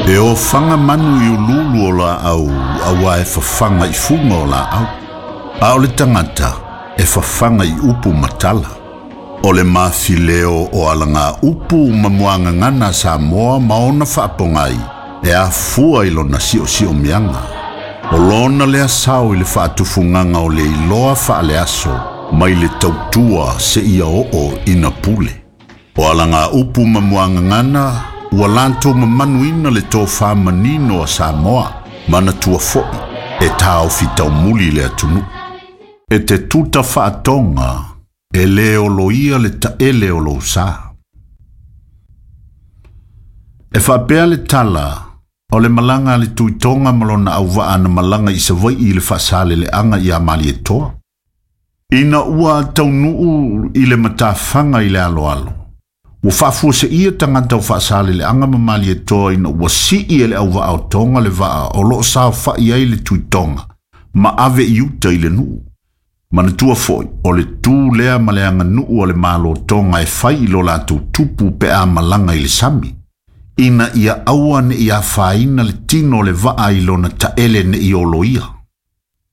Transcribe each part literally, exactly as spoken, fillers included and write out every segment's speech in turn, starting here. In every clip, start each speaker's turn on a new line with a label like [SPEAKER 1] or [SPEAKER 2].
[SPEAKER 1] E ofaga manu i ululu o laau auā e fafaga i fuga o laau. A o le tagata e fafaga i upu ma tala. O le mafileo o alaga upu ma muagagana a Samoa ma ona faapogai e afua i lona siosiomiaga. O lona lea sao i le faatufugaga o le iloa faaleaso mai le tautua seia oo ina pule. O alaga upu ma muagagana ua latou mamanuina le tofā manino a Samoa, manatua foʻi e taofi taumuli le atunuu. E te tuta faatoga e lē oloia le taele o lou sā. E faapea le tala o le malaga a le Tuitoga ma lona auvaa na malaga i Savaiʻi i le faasaleleaga iā Malietoa. Ina ua taunuu i le matafaga i le aloalo. Ua faafuaseia tagata o faasaleleaga ma Malietoa ina ua sii e le auvaa o Toga le vaa o loo saofaʻi ai le Tuitoga ma ave i uta i le nuu. Manatua foʻi o le tū lea ma le aganuu a le Malo Toga e fai i lo latou tupu pe a malaga i le sami. Ina ia aua neʻi afaina le tino o le vaa i lona taele neʻi oloia.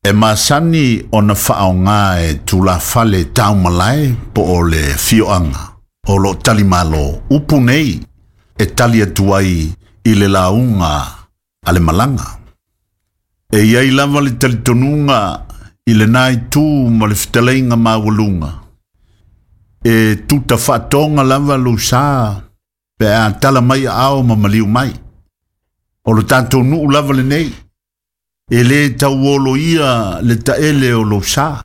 [SPEAKER 1] E masani ona faaoga e tulafale taumalae po o le fioaga o loo talimalo upu nei e tali atu ai i le lauga a le malaga. E iai lava le talitonuga i lenā itu ma le fetalaiga maualuga. E tuta faatoga lava lou sā pe a tala mai aao ma maliu mai. O lo tatou nuu lava lenei, e lē tauoloia le taele o lou sā.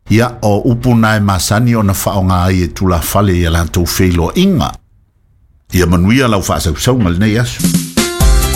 [SPEAKER 1] Ia o upu na e masani ona faaoga ai e tulafale ia latou feiloaiga. Ia manuia lau faasausauga lenei aso.